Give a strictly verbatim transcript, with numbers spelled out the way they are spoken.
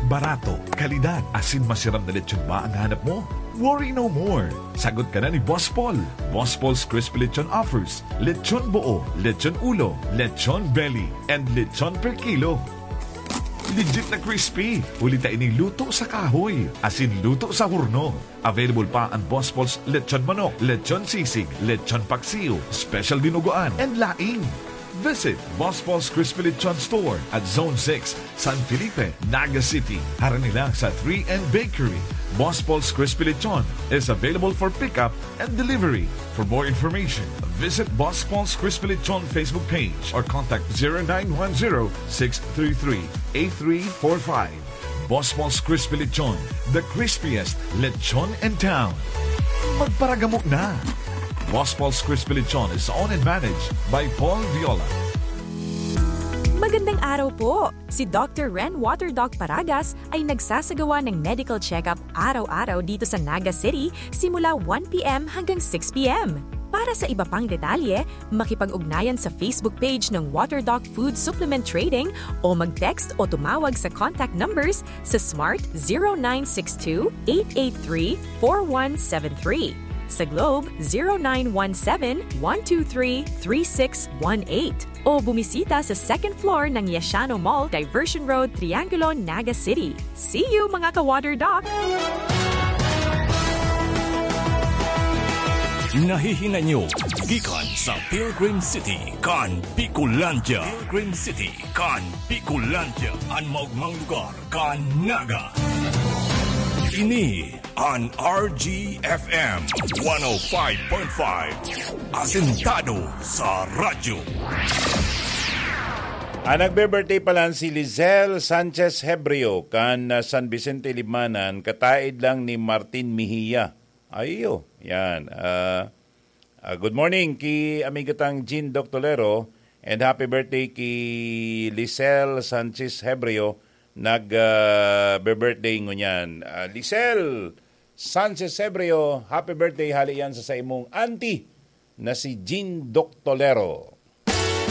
Barato, kalidad, asin masiram na lechon ba ang hanap mo? Worry no more! Sagot ka na ni Boss Paul. Boss Paul's Crispy Lechon offers lechon buo, lechon ulo, lechon belly, and lechon per kilo. Legit na crispy, huli ta ining luto sa kahoy, asin luto sa horno. Available pa ang Boss Paul's lechon manok, lechon sisig, lechon paksiw, special dinuguan, and laing. Visit Boss Paul's Crispy Lechon Store at Zone six, San Felipe, Naga City. Harani lang sa three N Bakery. Boss Paul's Crispy Lechon is available for pickup and delivery. For more information, visit Boss Paul's Crispy Lechon Facebook page or contact zero nine one zero, six three three, eight three four five. Boss Paul's Crispy Lechon, the crispiest lechon in town. Magparagamo na! Boss Paul's Crispy Lechon is owned and managed by Paul Viola. Magandang araw po! Si Doctor Ren Water Doc Paragas ay nagsasagawa ng medical check-up araw-araw dito sa Naga City simula one p.m. hanggang six p.m. Para sa iba pang detalye, makipag-ugnayan sa Facebook page ng Water Doc Food Supplement Trading o mag-text o tumawag sa contact numbers sa Smart zero nine six two, eight eight three, four one seven three. Sa Globe, zero nine one seven, one two three, three six one eight. O bumisita sa second floor ng Yashano Mall, Diversion Road, Triangulo, Naga City. See you, mga ka-Water Doc! Nahihinay nyo gikan sa Pilgrim City kan Bicolandia. Pilgrim City kan Bicolandia, an maogmang lugar kan Naga. Ini an R G F M one oh five point five, asentado sa radyo. Ang nagbe-birthday pala si Lizelle Sanchez Hebrio kan ah, San Vicente Libmanan, kataid lang ni Martin Mejia. Ayo, yan. Ah, ah, good morning ki amigo tang Jean Doctolero and happy birthday ki Lizelle Sanchez Hebrio nag ah, be-birthday ngunyan. Ah, Lizelle Sanchez Hebrio, happy birthday hali yan sa saimong auntie na si Jean Doctolero.